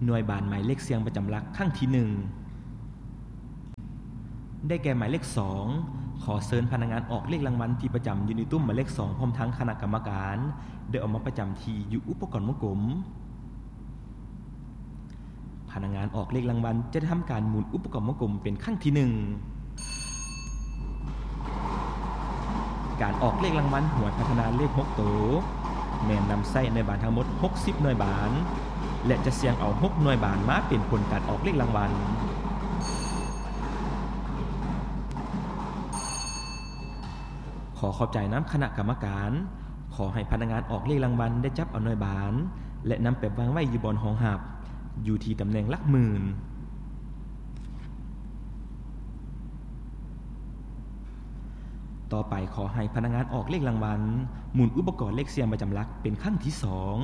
ໜ່ວຍບານໝາຍເລກສ່ຽງປະຈຳຫຼັກຄັ້ງທີໜຶ່ງ ໄດ້ແກ່ໝາຍເລກສອງ. ຂໍເຊີນພະນັກງານອອກເລກລາງວັນທີ່ປະຈຳຢູ່ໃນຕຸ້ມໝາຍເລກສອງ ພ້ອມທັງຄະນະກຳມະການ ໄດ້ອອກມາປະຈຳທີ່ຢູ່ອຸປະກອນວົງກົມ. ພະນັກງານອອກເລກລາງວັນຈະໄດ້ທຳການໝູນອຸປະກອນວົງກົມເປັນຄັ້ງທີໜຶ່ງ. ການອອກເລກລາງວັນຫວຍພັດທະນາເລກຫົກໂຕ ແມ່ນນຳໃຊ້ໜ່ວຍບານທັງໝົດຫົກສິບໜ່ວຍບານ ແລະ ຈະສ່ຽງເອົາຫົກໜ່ວຍບານມາເປັນຜົນການອອກເລກລາງວັນ. ຂໍຂອບໃຈນຳຄະນະກຳມະການ. ຂໍໃຫ້ພະນັກງານອອກເລກລາງວັນໄດ້ຈັບເອົາໜ່ວຍບານ ແລະ ນຳໄປວາງໄວ້ຢູ່ບ່ອນຮອງຮັບ ຢູ່ທີ່ຕຳແໜ່ງຫຼັກໝື່ນ. ຕໍ່ໄປ ຂໍໃຫ້ພະນັກງານອອກເລກລາງວັນ ໝູນອຸປະກອນເລກສ່ຽງປະຈຳຫຼັກເປັນຄັ້ງທີສອງ.